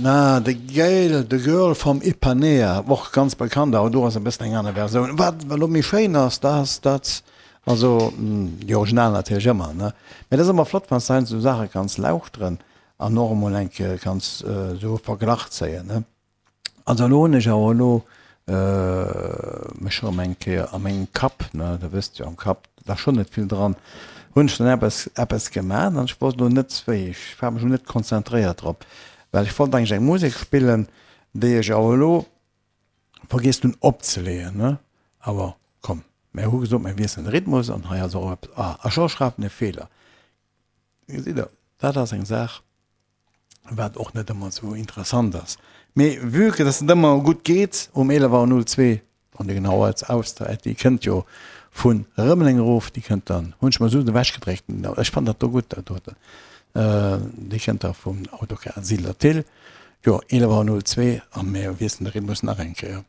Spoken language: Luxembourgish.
Na, The Gale, The Girl from Ipanea, och ganz bekannt, awer do ass e bëssen eng aner Versioun. Wat elo méi schéin ass, dat ass dat, also déi Original natierlech ëmmer, ne, mä dat ass ëmmer flott, wann s de heiansdo esou Saache kanns lauschteren an och emol eng Kéier kanns esou e Verglach zéien, ne. Also elo hunn ech awer elo mech erëm eng Kéier a mengem Kapp, ne, der wësst jo, am Kapp, da ass schonn net vill dran, hunn ech dann eppes, eppes gemaach an ech wosst elo net wéi, ech war mech elo net konzentréiert drop, well ech wollt eigentlech eng Musek spillen, déi ech awer elo vergiess hunn opzeleeën, ne. Awer komm, mär hu gesot, mär wiesselen de Rhythmus an hei ass och eppes, ah, a scho schreift en e Feeler. Gesitt Der, dat ass eng Saach. wat och net ëmmer esou interessant ass. Mee vue que dass et ëmmer gutt geet um 11 Auer 02, an déi genau Auszäit, déi kënnt jo vu Rëmeleng erof, déi kënnt dann, hunn ech mer esou ewechgedréckt, ech fannen dat do gutt, dat doten, déi kënnt da vum Autocar Siedler Thill, jo 11 Auer 02 a mir wiesselen de Rhythmus nach eng Kéier.